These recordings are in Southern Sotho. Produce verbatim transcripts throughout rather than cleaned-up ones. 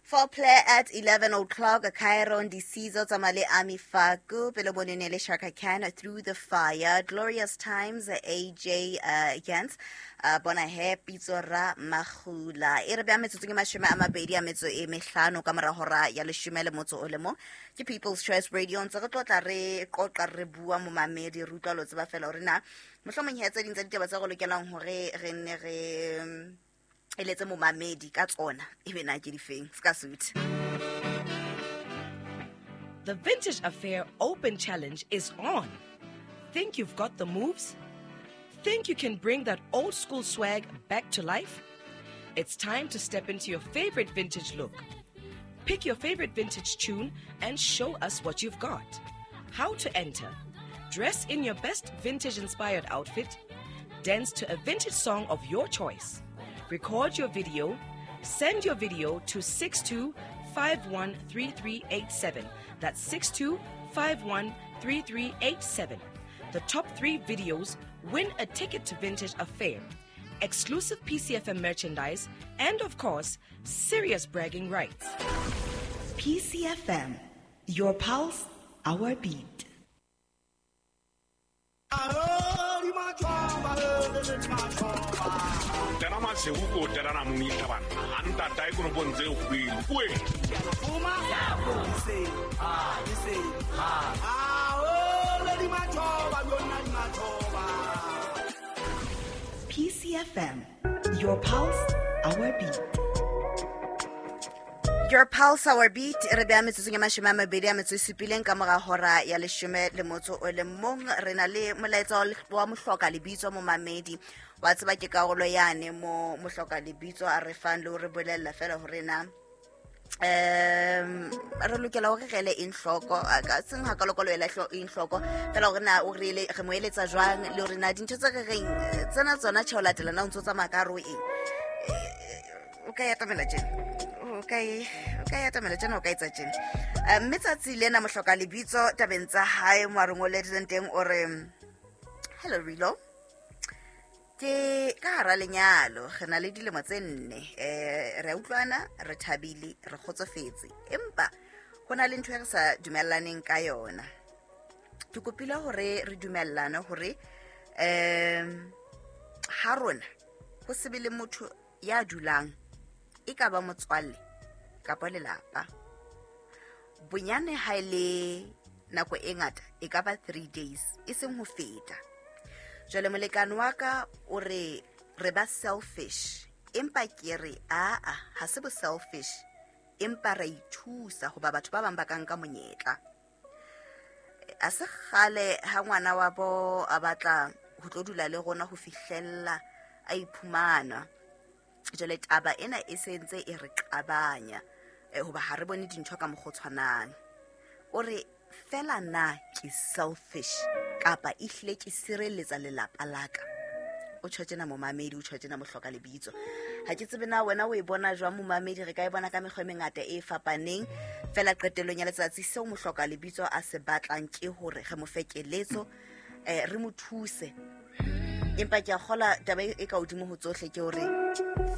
Foreplay at eleven o'clock, Cairo Ndisizo Tsamale Ami Faku, Pele Bonene Shaka Khan, Through the Fire, Glorious Times, A J uh, Gans, uh, Bona He, Pitsora Mahula. E re bea metsotso ke mashome a mabedi a metso e mehlano ka mora hora ya leshome le motso o le mong. Ke People's Choice Radio, ntse re tlotla re qoqa re bua momamedi, re utlwa lo tseba fela hore na mohlomong he tse ding tsa ditaba tse re lokelang hore re nne re eletse momamedi ka tsona ebe na ke difeng ska suit. The Vintage Affair Open Challenge is on. Think you've got the moves? Think you can bring that old school swag back to life? It's time to step into your favorite vintage look. Pick your favorite vintage tune and show us what you've got. How to enter? Dress in your best vintage-inspired outfit. Dance to a vintage song of your choice. Record your video. Send your video to six two five one three three eight seven. That's six two five one three three eight seven. The top three videos win a ticket to Vintage Affair, exclusive P C F M merchandise, and of course, serious bragging rights. P C F M, your pulse, our beat. P C F M, your pulse, our beat. Your pulse, our beat. Re bea metsotsong ya mashome a mabedi a metso e supileng ka mora hora ya leshome le motso o le mong. Re na le molaetsa wa mohloka lebitso momamedi. Wa tseba ke karolo yane mo mohloka lebitso a re fang le ho re bolella fela hore na um re lokela hore re ele eng hloko, ka seng ha ka lokolo ela eng hloko fela hore na o re ele re mo eletsa jwang le hore na dintho tse re reng tsena tsona tjhe o latela na o ntso tsamaya ka hare ho eng. O ka ya tamela tjena, o ka e o ka ya tamela tjena, o ka etsa tjena. Mme tsatsi lena mohloka lebitso tabeng tsa hae mo a re ngoletseng teng o re, hello Rilo, ke ka hara lenyalo, re na le dilemo tse nne, eh re a utlwana, re thabile, re kgotsofetse, empa ho na le ntho e re sa dumellaneng ka yona. Ke kopile hore re dumellane hore em ha rona ho se be le motho ya dulang e ka ba motswalle kapa lelapa, bonyane ha ile nako e ngata e ka ba three days e seng ho feta. Jwale molekane wa ka o re re ba selfish, empa ke re a a ha se bo selfish, empa re ithusa hoba batho ba bang ba ka nka monyetla. A se kgale ha ngwana wa bo a batla ho tlo dula le rona ho fihlella a iphumana. Jwale taba ena e sentse e re qabanya hoba ha re bone dintho ka mokgwa o tshwanang. O re fela na ke selfish kapa ehlile ke sireletsa lelapa la ka? O tjho tjena momamedi, o tjho tjena mohloka lebitso. Ha ke tsebe na wena o e bona jwang momamedi, re ka e bona ka mekgwa e mengata e fapaneng. Fela qetellong ya letsatsi seo mohloka lebitso a se batlang ke hore re mo fe keletso, eh re mo thuse. Empa ke a kgola taba e ka hodimo ho tsohle ke hore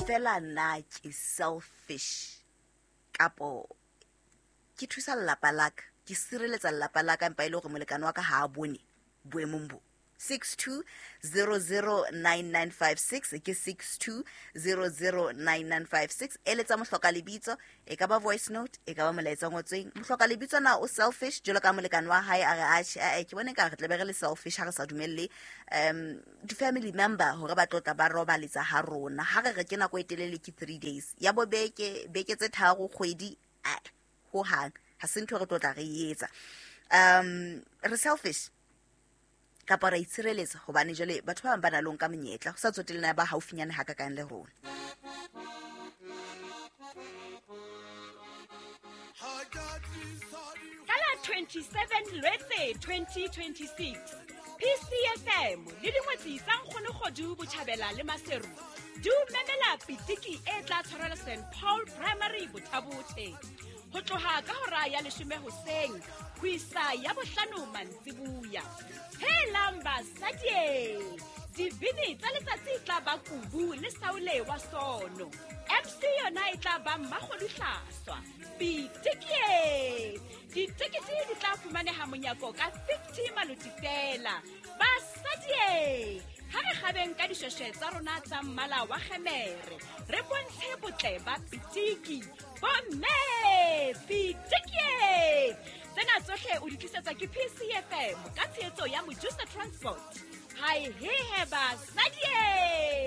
fela na ke selfish kapo ke thusa lelapa la ka, ke sireletsa lelapa la ka, empa e le hore molekane wa ka ha a bone boemong bo. six two zero zero nine nine five six ke six two zero zero nine nine five six. Eletsa mohloka lebitso, e ka ba voice note, e ka ba molaetsa o ngotsweng. Mohloka lebitso na o selfish jwalo ka molekane wa hae a re atjhe, a ke bone ka re tle be re le selfish ha re sa dumelle um di family member hore ba tlotla ba robaletsa ha rona. Ha re re ke nako e telele ke three days ya bo beke, beke tse tharo, kgwedi, ho hang ha se ntho re tlotla re etsa. Um re selfish kapa ra itshireletsa hobane jwale batho ba bang ba na le nka monyetla ho sa tsotellana ba haufinyane ha ka kang le rona. Ka la twenty-seven Lwetse twenty twenty-six, P C F M le dingwetsi tsa Nkgono Kgodu Botjhabela le Maseru di o memela pitiki e tla tshwarelwa Saint Paul Primary Bothabothe ho tloha ka hora ya leshome hoseng ho isa ya bohlano mantsibuya. Helang basadi, dibini tsa letsatsi tla ba kubu le saole wa sono. M C yona e tla ba Mmakgoduhlaswa. Pitikie! Ditekete di tla fumaneha monyako ka fifty maloti fela. Basadie! Ha re kgabeng ka dishweshwe tsa rona tsa mmala wa kgemere, re bontshe botle ba pitiki. Bomme! Pitikie! Tsena tsohle o di tlisetswa ke P C F M ka tshehetso ya Mojusa Transport. Hai hehe basadie!